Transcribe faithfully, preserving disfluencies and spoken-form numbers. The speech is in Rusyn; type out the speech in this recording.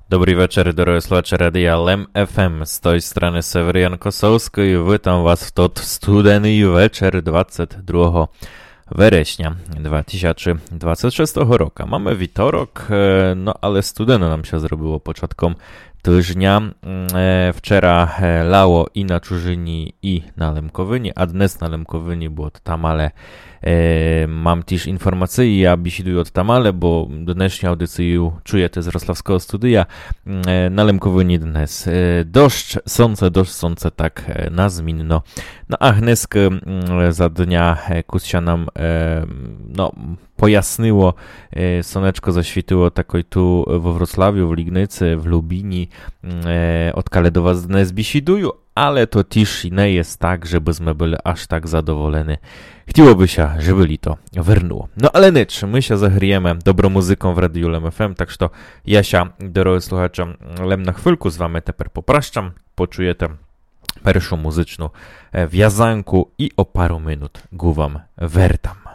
Добрый вечер, дорогы слухачы радия Лем ФМ. З той страны Северян Косовскый. Вітам вас в тот студеный вечер двадцять другого вересня два тисячы двадцять шестого рока. Маме вівторок, е, но але студено нам ся зробило початком тыжня. М, е, вчера, е, лало і на Чужыні, і на Лемковыні, а днес на Лемковыні, бо от там, але Е, мам тіж інформації, я бесідую од тамале, бо днешню аудицію чуєте з Рославского студия. М, е, на Лемковыні днес, е, дождж, сонце, дождж, сонце, так, е, на змінно. Но а гнеска, м, за дня, е, кус ся нам, е, но, пояснило, е, сонечко засвітило такой ту во Вроцлавю, в Лігниці, в Любіні, м, е, одкале до вас днес бесідую, але то тіж не єст так, жебы зме были аж так задоволені. Хотіло бы ся, жебы літо вернуло. Но але нич, мы ся загрієме добром музыком в Радію Лем ФМ, так што я ся, дорогы слухачы, лем на хвильку з вами тепер попращам, почуєте першу музычну, е, вязанку і о пару минут ґу вам вертам.